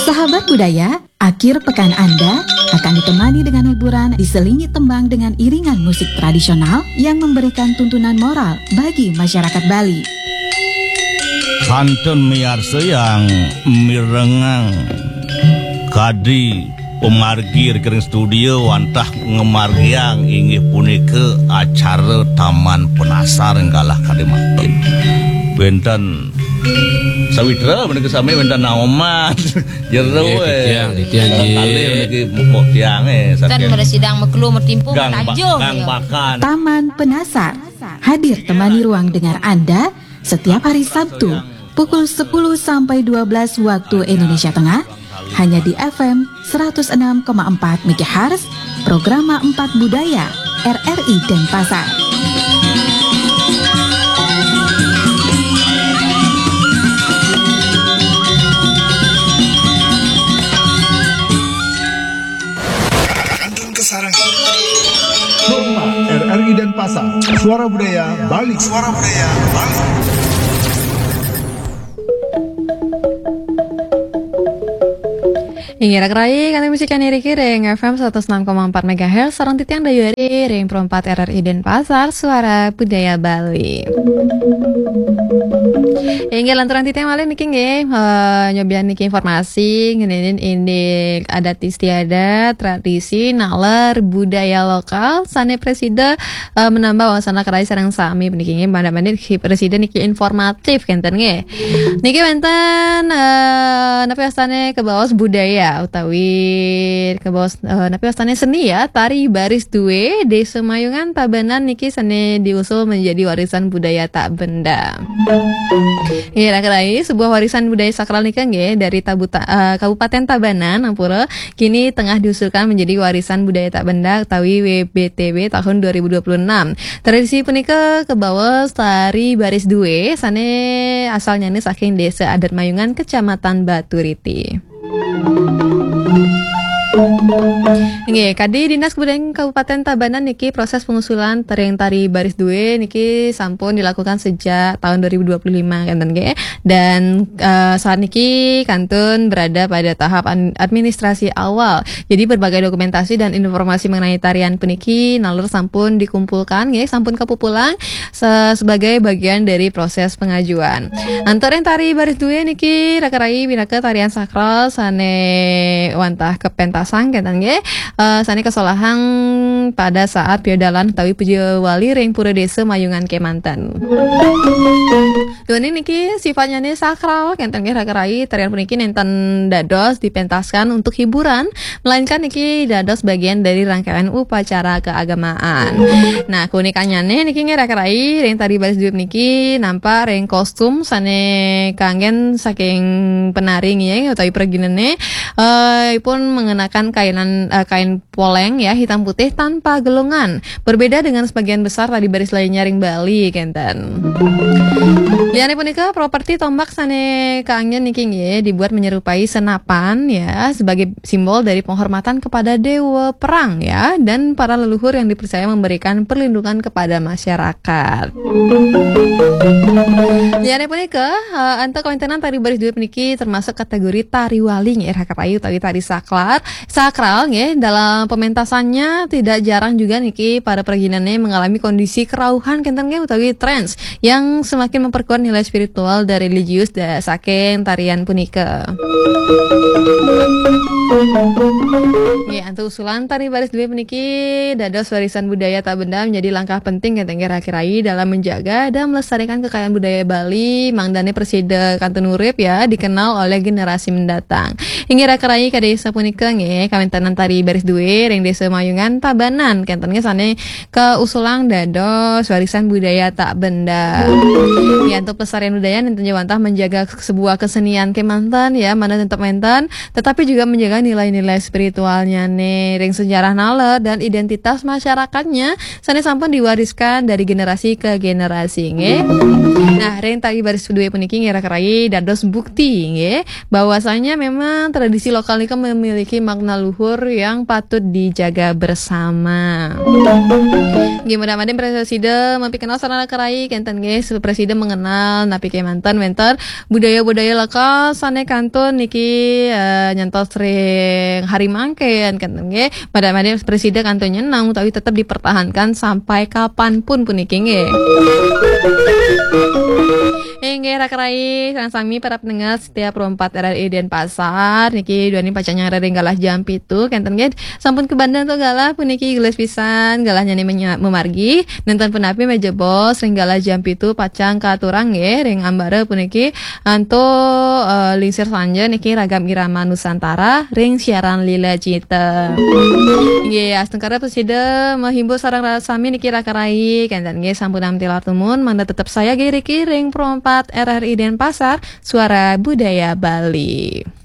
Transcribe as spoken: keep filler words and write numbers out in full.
Sahabat budaya, akhir pekan Anda akan ditemani dengan hiburan diselingi tembang dengan iringan musik tradisional yang memberikan tuntunan moral bagi masyarakat Bali. Kantun miarsa yang mirengang kadi pemargi ring studio wantah ngamargiang inggih punika acara Taman Penasar galah kadi mangkin. Wenten sawitra menika sami, wenten naoman. Jero, nggih, eh. Titiang, titiang, nggih. Kalih niki mupuk tiang, eh, kan saking mara sidang mekelu metimpuh gang ba-, tanjuh, gang ya. Bakan. Taman Penasar hadir temani ruang dengar Anda setiap hari Sabtu pukul sepuluh sampai dua belas waktu Indonesia Tengah, hanya di F M seratus enam koma empat megahertz, Programa empat Budaya, R R I Denpasar. Kantun kasarengin. Sukma, R R I Denpasar, Suara Budaya Bali. Suara Budaya Bali. Inggih, raka rayi, kanti misi kani riki ring F M seratus enam koma empat megahertz, sareng titiang Dayu Ari ring Pro empat R R I Denpasar, Suara Budaya Bali. Inggih, lanturang titiang malih niki nggih, eh, nyobian niki informasi ngenenin indik adat istiadat, tradisi, naler, budaya lokal, sane prasida, eh, menambah wawasan raka rayi sareng sami puniki nggih, mangda mangda prasida niki informatif kenten nggih. Niki wenten, eh, napi wastane kabaos budaya utawi kabaos, eh, napi wastane seni ya, tari baris due, Desa Mayungan Tabanan niki sane diusul menjadi warisan budaya tak benda. Nggih, raka rayi, sebuah warisan budaya sakral nika nggih dari Tabuta-, eh, Kabupaten Tabanan, ampura, kini tengah diusulkan menjadi warisan budaya tak benda utawi W B T B tahun dua ribu dua puluh enam. Tradisi punika kabaos tari baris due, sane asalnyane saking Desa Adat Mayungan, Kecamatan Baturiti. Nggih, kadi Dinas Kebudayaan Kabupaten Tabanan niki proses pengusulan tering tari baris due niki sampun dilakukan sejak tahun dua ribu dua puluh lima kenten nggih. Dan, eh, saat niki kantun berada pada tahap an-, administrasi awal. Jadi berbagai dokumentasi dan informasi mengenai tarian puniki naler sampun dikumpulkan nggih, sampun kapupulang se-, sebagai bagian dari proses pengajuan. Antuk ring tari baris due niki raka rayi pinaka tarian sakral sane wantah kapentasang kenten nggih, eh, sane kasolahang pada saat piodalan utawi puja wali ring Pura Desa Mayungan kemanten. Duaning niki sifatnyane sakral kenten nggih raka rayi, tarian puniki nenten dados dipentaskan untuk hiburan, melainkan niki dados bagian dari rangkaian upacara keagamaan. Nah, keunikannyane niki nggih raka rayi, ring tari baris due niki nampak ring kostum sane kanggen saking penari nggih utawi praginane, eh, ipun mengenakan kainan, eh, kain poleng ya, hitam putih tanpa gelungan. Berbeda dengan sebagian besar tari baris lainnya ring Bali kenten. Liyane punika, properti tombak sane kanggen niki nggih dibuat menyerupai senapan ya, sebagai simbol dari penghormatan kepada dewa perang ya, dan para leluhur yang dipercaya memberikan perlindungan kepada masyarakat. Liyane punika, eh, antuk kawentenan tari baris due puniki termasuk kategori tari wali nggih, raka rayi, utawi tari saklar, sakral nggih. Dalam pementasannya tidak jarang juga niki para praginane mengalami kondisi kerauhan kenten nggih utawi trance yang semakin memperkuat nilai spiritual dan religius da-, saking tarian punika. Nggih, antuk usulan tari baris due puniki dados warisan budaya tak benda menjadi langkah penting kenten nggih raka rayi dalam menjaga dan melestarikan kekayaan budaya Bali, mangdane prasida kantun urip ya, dikenal oleh generasi mendatang. Inggih raka rayi, kadi sapunika nggih kawentenan tari baris due ring Desa Mayungan Tabanan kenten nggih sane kausulang dados warisan budaya tak benda. Ya, antuk pelestarian budaya nenten ja wantah menjaga sebuah kesenian kemanten ya, mangda tetep wenten, tetapi juga menjaga nilai-nilai spiritualnyane ring sejarah naler dan identitas masyarakatnya sane sampun diwariskan dari generasi ke generasi nggih. Nah, ring tari baris due puniki nggih raka rayi dados bukti nggih bahwasanya memang tradisi lokal nika memiliki makna luhur yang patut dijaga bersama. Nggih, mudah-mudahan presida mapikenal sareng raka rai kenten nggih, presida mengenal napi kemanten wenten budaya-budaya lokal sane kantun niki eh, nyantos ring hari mangkin kenten nggih. Mudah-mudahan presida kantun nyeneng utawi tetep dipertahankan sampai kapanpun puniki nggih. Inggih raka rai sareng sami para pendengar setiap Pro empat R R I Denpasar niki duaning pacang nyarengin galah jam pitu kenten nggih. Sampun kabanda antuk galah puniki gelis pisan, galahnyane menya- memargi. Nenten punapi majebos ring galah jam pitu pacang katurang nggih ring ambara puniki antuk eh, lingsir sanja niki ragam irama Nusantara ring siaran Lila Cita. Nggih, astungkara presida mahimbau sareng raka sami niki raka rai kenten nggih sampun tilar tumun mangda tetep saya nggih riki ring Pro empat R R I Denpasar, Suara Budaya Bali.